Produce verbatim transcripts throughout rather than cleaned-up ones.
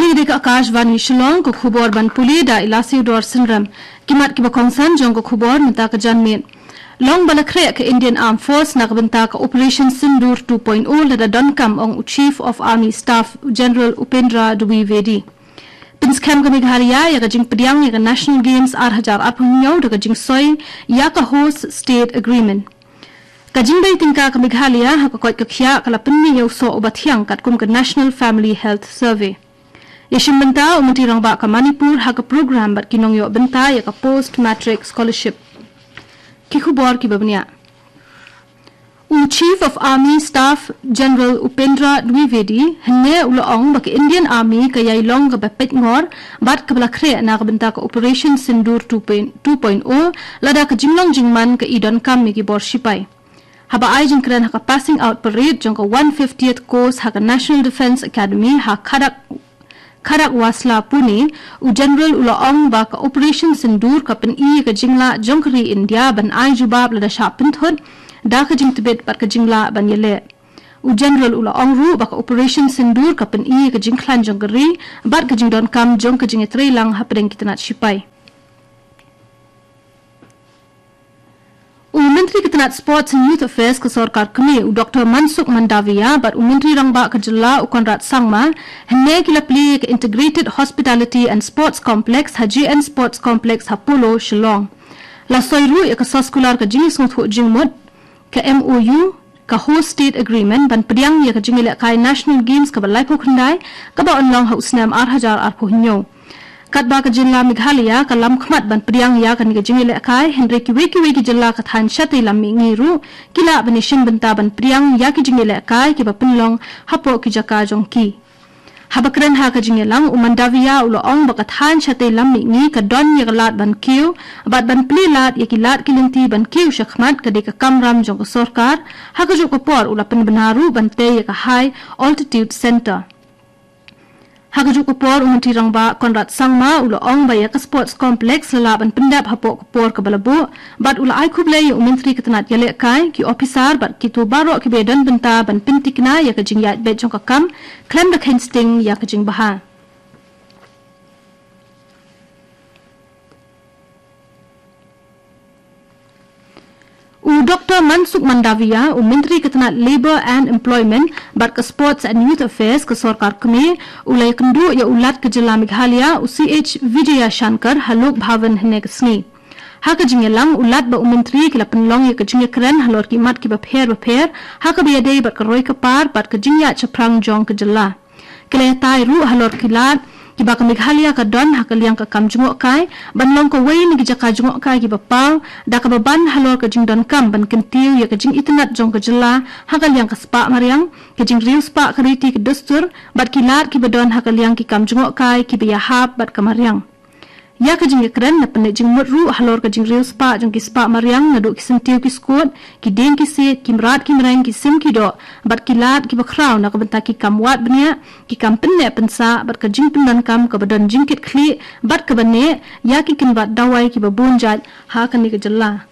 Kane ka dei ka Akashvani Shillong, ka khubor ban pule da i Lasiewdor Synrem. Ki mat kiba kongsan jong ka khubor mynta ka janmiet. Long ba la khreh ka Indian Armed Force na ka bynta ka Operation Sindoor two point oh lada donkam, ong u Chief of Army Staff General Upendra Dwivedi. Pynskhem ka Meghalaya ïa ka jingpdiang ïa ka National Games ar hajar arphew hynñiew da ka jingsoi ïa ka Host State Agreement. Ka jingbei tyngka ka Meghalaya ha ka koit ka khiah ka la pynmih ïa u soh uba thiang katkum ka National Family Health Survey. Ïashim bynta u Myntri Rangbah ka Manipur ha ka program bad ki nongïoh bynta ïa ka Post Matric Scholarship. Ki khubor kiba bniah. U Chief of Army Staff General Upendra Dwivedi hynne u la ong ba ka Indian Army ka ïai long kaba peit ngor bad kaba la khreh na ka bynta ka Operation Sindoor two point, two point oh lada ka jinglong jingman ka i donkam ïa ki bor shipai. Haba ai jingkren ha ka passing out parade jong ka one fiftieth course ha ka National Defence Academy ha Khadak, Khadakwasla Pune, u General u la ong ba ka Operation Sindoor ka pyni ïa ka jinglah jong ka ri India ban ai jubab lada shah pynthut da ka jingtbit bad ka jinglah ban ïaleh. U General u la ong ruh ba ka Operation Sindoor ka pyni ïa ka jingkhlaiñ jong ka ri bad ka jingdonkam jong ka jingïatreilang hapdeng ki tnat shipai. U Myntri ka tnat Sports and Youth Affairs ka sorkar kmie, u Doctor Mansukh Mandaviya, bad u Myntri Rangbah ka jylla, u Conrad Sangma, hynne ki la plie ïa ka Integrated Hospitality and Sports Complex ha J N Sports Complex ha Polo, Shillong. La soi ruh ïa ka soskular ka jingsngewthuh jingmut, ka M O U, ka Host State Agreement ban pdiang ïa ka jingïalehkai National Games kaba laiphew khyndai, kaba yn long ha u snem ar hajar arphew hynñiew. Katba ka jylla Meghalaya ka lam khmat ban pdiang ïa kane ka jingïalehkai, hynrei kiwei kiwei ki jylla ka thaiñ shatei lam mihngi ruh ki lah ban ïashim bynta ban pdiang ïa ki jingïalehkai kiba pynlong hapoh ki jaka jong ki. Haba kren ha ka jingïalang, u Mandaviya u la ong ba ka thaiñ shatei lam mihngi ka don ïa ka lad ban kiew bad ban plie lad ïa ki lad ki lynti ban kiew shakhmat ka dei ka kamram jong ka sorkar, ha kajuh ka por u la pynbna ruh ban tei ïa ka High Altitude Centre. Ha kajuh ka por, u Myntri Rangbah Conrad Sangma u la ong ba ïa ka Sports Complex la lah ban pyndep hapoh ka por kaba la buh, bad u la ai khublei ïa u Myntri ka tnat ïalehkai, ki ophisar bad kito baroh kiba ïadon bynta ban pynthikna ïa ka jingïaid beit jong ka kam khlem da kheiñ sting ïa ka jingbha. U Doctor Mansukh Mandaviya, u Myntri ka tnat Labour and Employment bad ka Sports and Youth Affairs ka sorkar kmie, u la ïakynduh ïa u Lat ka jylla Meghalaya, u C H Vijayashankar, ha Lok Bhavan hynne ka sngi. Ha ka jingïalang, u Lat bad u Myntri ki la pynlong ïa ka jingïakren halor ki mat kiba pher bapher ha kaba ïadei bad ka roi ka par bad ka jingïaid shaphrang jong ka jylla. Ki la ïatai ruh halor ki lad kiba ka Meghalaya ka don ha ka liang ka kam jngohkai, ban long kawei na ki jaka jngohkai kiba paw, da kaba ban halor ka jingdonkam ban kyntiew ïa ka jingitynnad jong ka jylla ha ka liang ka spah mariang, ka jingriewspah ka riti ka dustur, bad ki lad kiba don ha ka liang ki kam jngohkai kiba ïahap bad ka mariang. Ïa ka jingïakren la pynleit jingmut ruh halor ka jingriewspah jong ki spah mariang naduh ki syntiew ki skud, ki dieng ki siej, ki mrad ki mreng, ki sim ki doh, bad ki lad kiba khraw na ka bynta ki kam wad bniah, ki kam pynneh pynsah, bad ka jingpyndonkam kaba don jingkitkhlieh bad kaba neh ïa ki kynbat dawai kiba bun jait ha kane ka jylla.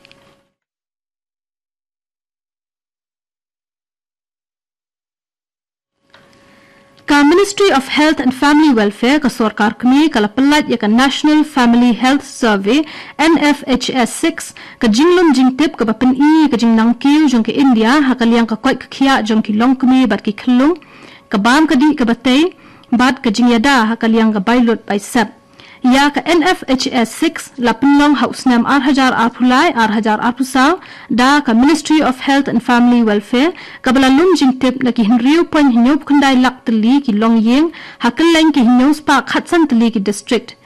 Ka Ministry of Health and Family Welfare ka sorkar kmie ka la pyllait ïa ka National Family Health Survey, N F H S six, ka jinglum jingtip kaba pyni ïa ka jingnangkiew jong ka India ha ka liang ka koit ka khiah jong ki longkmie bad ki khyllung, ka bam ka dih kaba tei, bad ka jingïada ha ka liang ka bai lut bai sep. Ïa ka N F H S six la pynlong ha u snem ar hajar arphew lai, ar hajar arphew saw, da ka Ministry of Health and Family Welfare, kaba la lum jingtip na ki hynriew point hynñiewphew khyndai lak tylli ki longïing, ha kylleng ki hynñiewspah khatsan tylli ki district.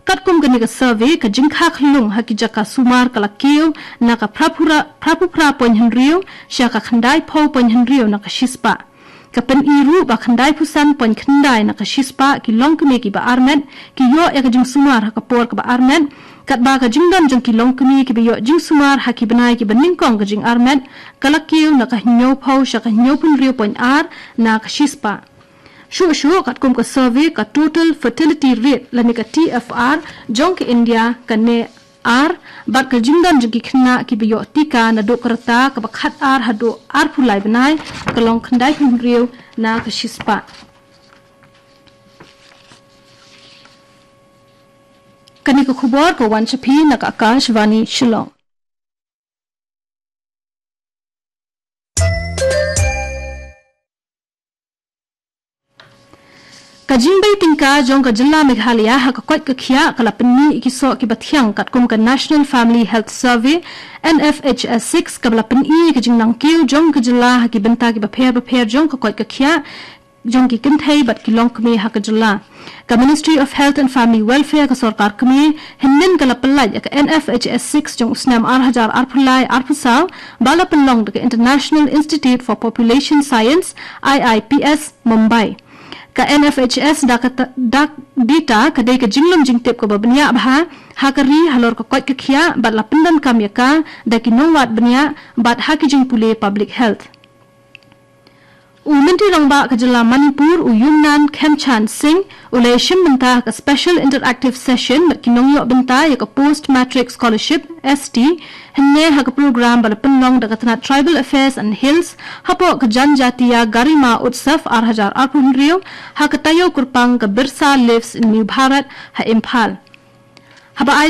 Katkum kane ka survey, ka jingkha khyllung ha ki jaka sumar ka la kiew na ka phraphew phra, phraphew phra point hynriew sha ka khyndaiphew point hynriew na ka shispah. Ka pyni ruh ba khyndaiphew san point khyndai na ka shispah ki longkmie kiba armet ki ïoh ïa ka jingsumar ha ka por kaba armet, katba ka jingdon jong ki longkmie kiba ïoh jingsumar ha ki bnai kiba nyngkong ka jingarmet ka la kiew na ka hynñiewphew sha ka hynñiewphew hynriew point ar na ka shispah. Shuh shuh, katkum ka survey, ka total fertility rate lane ka T F R jong ka India ka neh ar, bad ka jingdon jong ki khynnah kiba ïoh tika naduh ka rta kaba khatar haduh arphew lai bnai ka long khyndaiphew hynriew na ka shispah. Kane ka khubor ka wan sha phi na ka Akashvani Shillong. Ka jingbei tyngka jong ka jylla Meghalaya ha ka koit ka khiah ka la pynmih ïa ki soh kiba thiang katkum ka National Family Health Survey, N F H S six, kaba la pyni ïa ka jingnang kiew jong ka jylla ha ki bynta kiba pher bapher jong ka koit ka khiah jong ki kynthei bad ki longkmie ha ka jylla. Ka Ministry of Health and Family Welfare ka sorkar kmie hynnin ka la pyllait ïa ka N F H S six jong u snem ar hajar arphew lai arphew saw ba la pynlong da ka International Institute for Population Science, I I P S, Mumbai. Ka N F H S da ka ta-, da data ka dei ka jinglum jingtip kaba bniah bha ha ka ri halor ka koit ka khiah bad la pyndonkam ïa ka da ki nongwad bniah bad ha ki jingpule public health. U Myntri Rangbah ka jylla Manipur, u Yumnam Khemchand Singh, u la ïashim bynta ha ka Special Interactive Session bad ki nongïoh bynta ïa ka Post Matric Scholarship, S T, hynne ha ka program ba la pynlong da ka tnat Tribal Affairs and Hills hapoh ka Janjatiya Garima Utsav ar hajar arphew hynriew ha ka taïew kyrpang ka Birsa Lives in New Bharat ha Imphal. Haba ai